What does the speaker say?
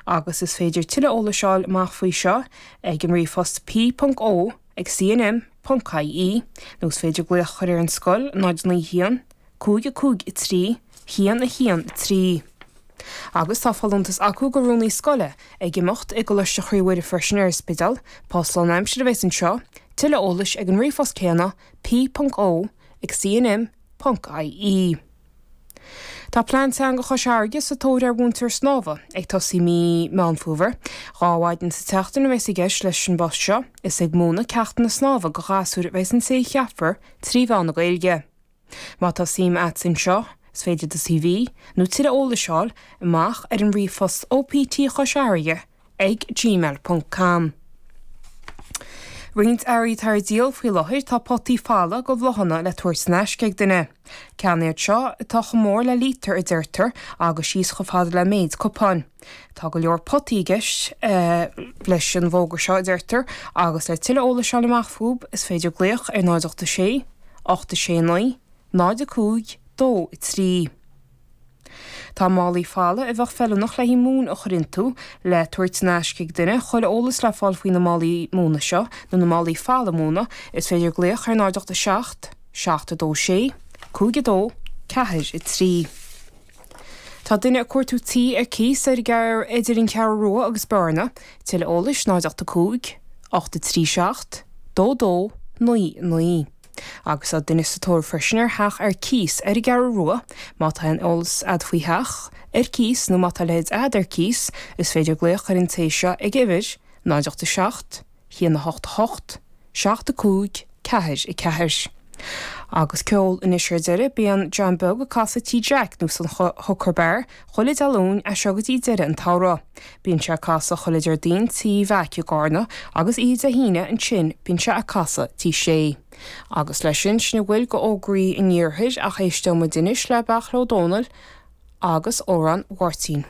Agus is féidir tuilleadh eolais a fháil amach faoi seo ag an ríomhphost p.o ag cnm ponc ie nó is féidir glaoch a chur ar an scoil 0 9 1 5 5 3 1 1 3. Agus tá folúntas acu go rúnaí scoile ag imeacht i gColáiste Chroí Mhuire freisin ar an Spidéal, post lánaimsire a bheas anseo, tuilleadh eolais ag an ríomhphost céanna p.o ag cnm ponc ie. Tá Plean Teanga Chois Fharraige sa tóir ar mhúinteoir snámha, ag tosaí mí Meán Fómhair. 2 mhaidin sa tseachtain a bheas i gceist leis an bpost seo. Is ag múineadh ceachtanna snámha go ghasúir a bheas an té a cheapfar trí mheán na Gaeilge. Má tá suim a't anseo, is féidir do CV, nó tuilleadh eolais a fháil amach ar an ríomhphost OPT Chois Fharraige ag gmail ponc com. Roinnt earraí atá ar díol faoi láthair tá potaí folamh go bhláthanna le tabhairt in aisce ag duine. Ceannaigh iad seo atá chomh mór le lítear a deirtear agus síos chomh fada le méid cupáin. Tá go leor potaí i gceist leis an bhfógra seo a deirtear agus le tuilleadh eolais a fháil amach fúb is féidir glaoch ar 0 8 6 8 6 9 0 5 2 3. Tá málaí folamh a bheadh feiliúnach le haghaidh móin a chur iontu le tabhairt in aisce ag duine. Chuile eolas le fáil faoi na málaí móna seo, nó na málaí folamh móna, is féidir glaoch ar 0 8 7 7 2 6 5 2 4 3. Tá duine ag cuartú tí ar cíos ar idir an Cheathrú Rua agus Bearna. Tuilleadh eolais 0 8 5 8 3 7 2 2 9 9. Agus tá duine sa tóir freisin ar theach ar cíos ar an gCeathrú Rua. Má tá aon eolas a'd faoi theach ar cíos nó má tá a leithéid a'd ar cíos, is féidir glaoch ar an té seo ag uimhir 0 8 7 1 8 8 7 5 4 4. Agus ceol anois ar deireadh, bíonn John Beag ag casadh Tí Jack nó san Hooker Bar chuile Dé Luain as seo go dtí deireadh an tsamhraidh. Bíonn sé ag casadh chuile Déardaoin Tí Mheaic i gCarna agus oíche Dé hAoine ansin bíonn sé ag casadh Tí Sé. Agus leis sin, sin a bhfuil go fhógraí an iarthair ach éisteoidh muid anois le Beairtle Ó Domhnaill agus Amhrán Mháirtín.